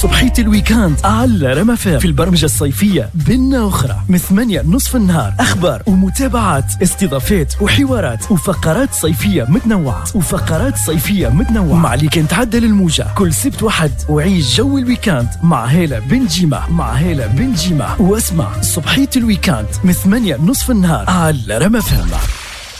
صبحية ال week-end على رما في البرمجة الصيفية بنا أخرى من 8 نصف النهار، أخبار ومتابعات، استضافات وحوارات وفقرات صيفية متنوعة، وفقرات صيفية متنوعة مع اللي كان تعدل الموجة كل سبت وحد. وعيش جو ال week-end مع هالة بن جيمة، مع هالة بن جيمة، واسمع صبحية ال week-end من 8 نصف النهار على رما فهم.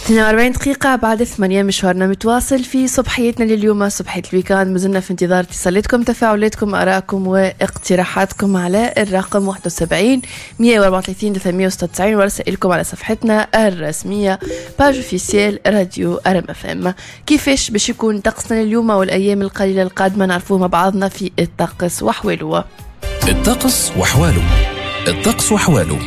42 دقيقة بعد 8 مشوارنا متواصل في صبحيتنا لليوم، صبحية ال week-end. مازلنا في انتظار اتصالاتكم، تفاعلاتكم، آرائكم واقتراحاتكم على الرقم 71 134 396 ورسائلكم على صفحتنا الرسمية page officielle راديو ارم اف ام. كيفاش باش يكون طقسنا اليوم والايام القليلة القادمة نعرفوه مع بعضنا في الطقس وحواله. الطقس وحواله، الطقس وحواله.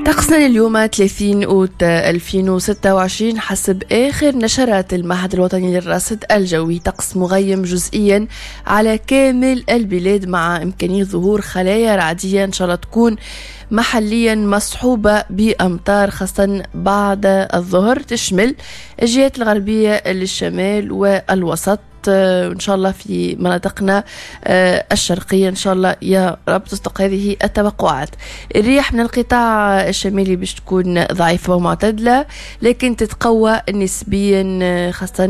طقسنا اليوم 30 أوت 2026 حسب آخر نشرات المعهد الوطني للرصد الجوي، طقس مغيم جزئيا على كامل البلاد مع إمكانية ظهور خلايا رعدية إن شاء الله تكون محليا مصحوبة بأمطار خاصة بعد الظهر، تشمل الجهات الغربية للشمال والوسط، إن شاء الله في مناطقنا الشرقية إن شاء الله يا رب تصدق هذه التوقعات. الرياح من القطاع الشمالي باش تكون ضعيفة ومعتدلة لكن تتقوى نسبيا خاصة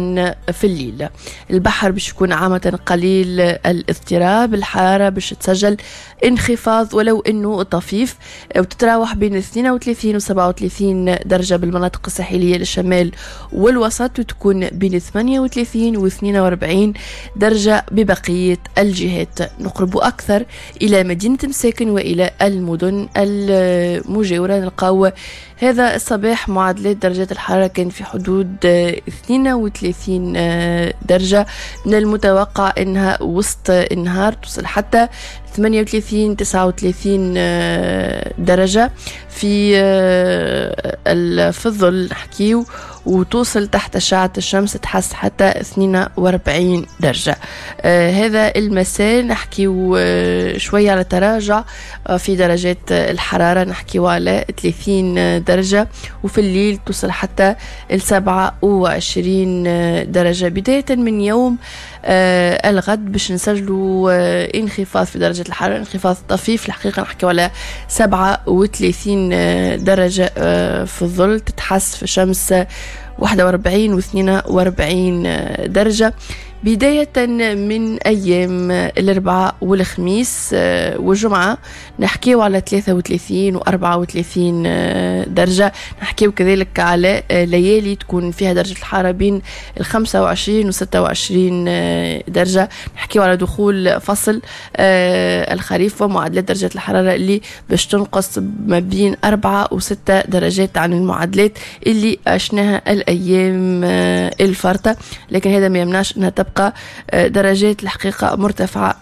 في الليل. البحر باش يكون عامة قليل الاضطراب، الحرارة باش تسجل انخفاض ولو أنه طفيف وتتراوح بين 32 و 37 درجة بالمناطق الساحلية للشمال والوسط، وتكون بين 38 و 42 درجة ببقية الجهات. نقرب أكثر إلى مدينة مساكن وإلى المدن المجاورة، نلقاو هذا الصباح معادلات درجات الحرارة كان في حدود 32 درجة، من المتوقع أنها وسط النهار توصل حتى 38 39 درجة في الظل نحكيو، وتوصل تحت أشعة الشمس تحس حتى 42 درجة. هذا المساء نحكيو شوية على تراجع في درجات الحرارة، نحكيو على 30 درجة، وفي الليل توصل حتى 27 درجة. بداية من يوم الغد باش نسجلوا انخفاض في درجة الحرارة، انخفاض طفيف الحقيقة، نحكيو على 37 درجة في الظل، تتحس في الشمس 41 و 42 درجة. بداية من أيام الأربعاء والخميس والجمعة نحكيو على 33 و 34 درجة، نحكيو كذلك على ليالي تكون فيها درجة الحرارة بين 25 و 26 درجة. نحكيو على دخول فصل الخريف ومعادلات درجة الحرارة اللي باش تنقص ما بين 4 و 6 درجات عن المعادلات اللي عشناها الأيام الفارطة، لكن هذا ما يمنعش أنها تبقى درجات الحقيقة مرتفعة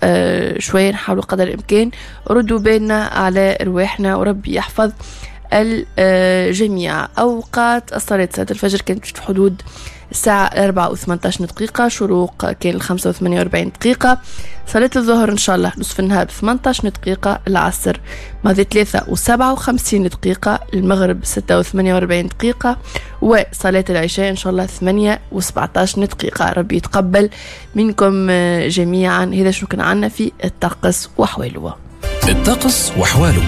شوية. نحاولوا قدر الإمكان ردوا بالنا على رواحنا وربي يحفظ الجميع. أوقات الصلاة، صلاة الفجر كانت في حدود الساعة 4:18، شروق كان 5:48، صلاة الظهر إن شاء الله نصف النهار 18 دقيقة، العصر ماضي 3:57، المغرب 6:48، وصلاة العشاء إن شاء الله 8:17. ربي يتقبل منكم جميعا. هذا شو كان عنا في الطقس وحواله. الطقس وحواله،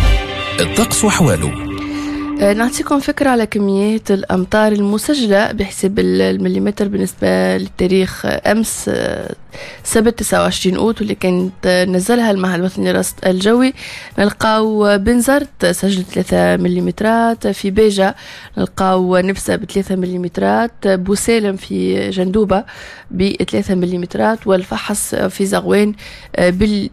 الطقس وحواله. نعطيكم فكرة على كميات الأمطار المسجلة بحساب المليمتر بالنسبة للتاريخ أمس سبت 29 أوت واللي كانت نزلها المعهد الوطني للرصد الجوي. نلقاو بنزرت سجلت 3 مليمترات، في باجة نلقاو نفسة ب3 مليمترات، بوسالم في جندوبة ب3 مليمترات، والفحص في زغوان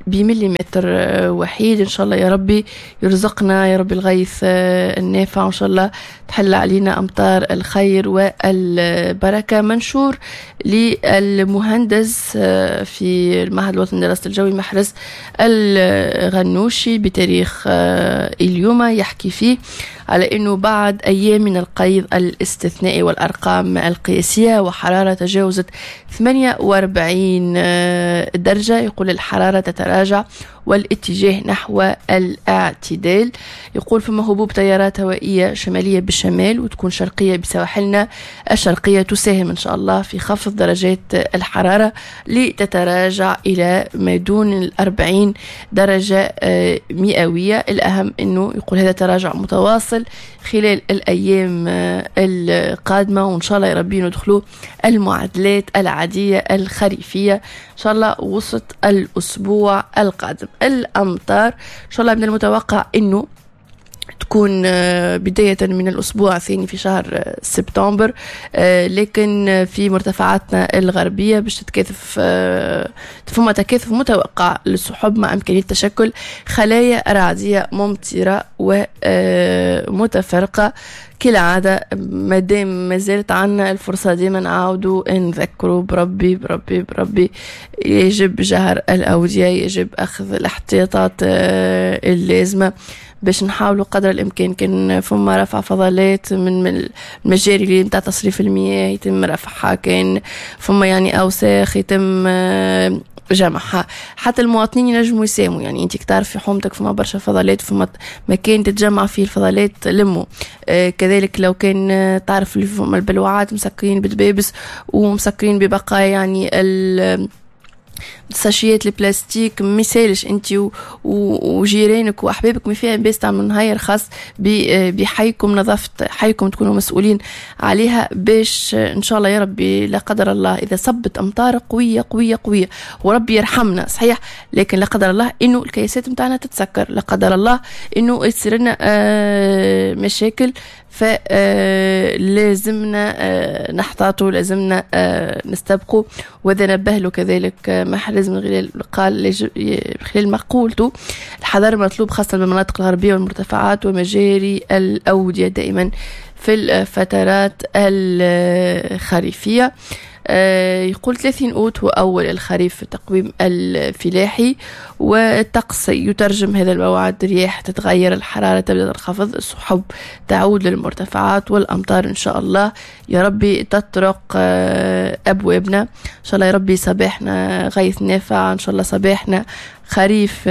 بمليمتر وحيد. إن شاء الله يا ربي يرزقنا يا ربي الغيث النافع، وإن شاء الله تحل علينا أمطار الخير والبركة. منشور للمهندس في المعهد الوطني للرصد الجوي محرز الغنوشي بتاريخ اليوم يحكي فيه على أنه بعد أيام من القيض الاستثنائي والأرقام القياسية وحرارة تجاوزت 48 درجة، يقول الحرارة تتراجع والاتجاه نحو الاعتدال. يقول فما هبوب تيارات هوائية شمالية بالشمال وتكون شرقية بسواحلنا الشرقية، تساهم إن شاء الله في خفض درجات الحرارة لتتراجع إلى ما دون 40 درجة مئوية. الأهم أنه يقول هذا تراجع متواصل خلال الأيام القادمة، وإن شاء الله يا ربي ندخلوا المعادلات العادية الخريفية إن شاء الله وسط الأسبوع القادم. الأمطار إن شاء الله من المتوقع أنه تكون بداية من الأسبوع الثاني في شهر سبتمبر، لكن في مرتفعاتنا الغربية باش تتكاثف، فما تكاثف متوقع للسحب مع إمكانية تشكل خلايا رعدية ممطرة ومتفرقة. كالعادة مادام ما زالت عنا الفرصة ديما نعاودوا نذكروا بربي بربي بربي يجب جهر الأودية، يجب أخذ الاحتياطات اللازمة باش نحاولوا قدر الإمكان. كان فما رفع فضلات من المجاري اللي نتاع تصريف المياه يتم رفعها، كان فما يعني أوساخ يتم جمعها، حتى المواطنين ينجموا يساهموا. يعني انت تعرف في حومتك فما برشا فضلات، فما مكان تتجمع فيه الفضلات لموا. كذلك لو كان تعرف اللي فما البلوعات مسكرين بدبابس ومسكرين ببقايا يعني ساشيات البلاستيك، ما يسالش انت وجيرانك واحبابك ما فيها باس تعملوا نهاير خاص بحيكم، نظافة حيكم تكونوا مسؤولين عليها، باش ان شاء الله يا ربي لا قدر الله اذا صبت امطار قوية قوية قوية وربي يرحمنا صحيح، لكن لا قدر الله انه الكياسات نتاعنا تتسكر، لا قدر الله انه يصير لنا مشاكل. فلازمنا نحتاطوا، لازمنا نستبقوا. وهذا نبه له كذلك محرز من خلال قال خلال مقولته الحذر مطلوب خاصة بالمناطق الغربية والمرتفعات ومجاري الأودية دائما في الفترات الخريفية. يقول 30 أوت هو أول الخريف في التقويم الفلاحي، والطقس يترجم هذا الموعد، رياح تتغير، الحرارة تبدأ تنخفض، السحب تعود للمرتفعات، والأمطار إن شاء الله يا ربي تطرق أبوابنا. إن شاء الله يا ربي صباحنا غيث نافع، إن شاء الله صباحنا خريف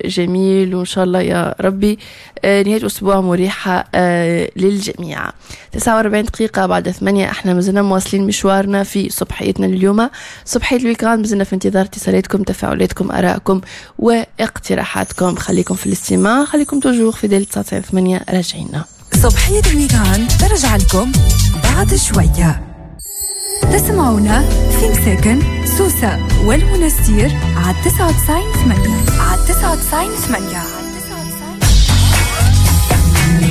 جميل، وإن شاء الله يا ربي نهاية أسبوع مريحة للجميع. 49 دقيقة بعد 8، احنا مازلنا مواصلين مشوارنا في صبحيتنا اليوم، صبحية ال week-end. مازلنا في انتظار اتصالاتكم، تفاعلاتكم، آرائكم واقتراحاتكم. خليكم في الاستماع، خليكم toujours fidèles 9.8. راجعينا صبحية ال week-end ترجع لكم بعد شوية. تسمعونا في مساكن سوسة والمنستير على 99.8، على 99.8.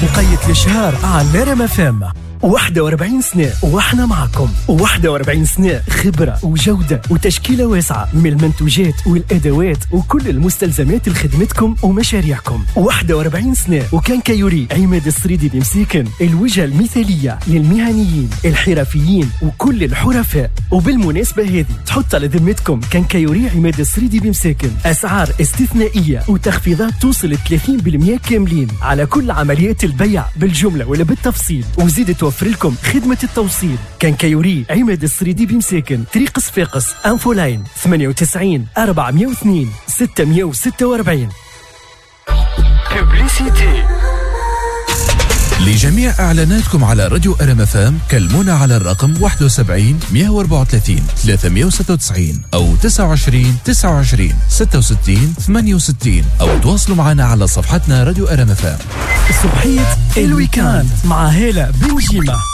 وقيت الإشهار على رام فام. 41 سنة واحنا معكم، 41 سنة خبرة وجودة وتشكيلة واسعة من المنتوجات والأدوات وكل المستلزمات لخدمتكم ومشاريعكم. 41 سنة و quincaillerie عماد السريدي بمسيكن، الوجهة المثالية للمهنيين الحرفيين وكل الحرفاء. وبالمناسبة هذه تحط على ذمتكم quincaillerie عماد السريدي بمساكن أسعار استثنائية وتخفيضات توصل 30% كاملين على كل عمليات البيع بالجملة ولا بالتفصيل، وزيد توفر لكم خدمة التوصيل. quincaillerie عماد السريدي بمساكن، طريق صفاقس، infoline 98 402 646. Publicité. لجميع إعلاناتكم على راديو أرم أف أم كلمونا على الرقم 71 134 396 أو 29 29 66 68، أو تواصلوا معنا على صفحتنا راديو أرم أف أم. صبحية ال week-end مع هالة بنجيمة.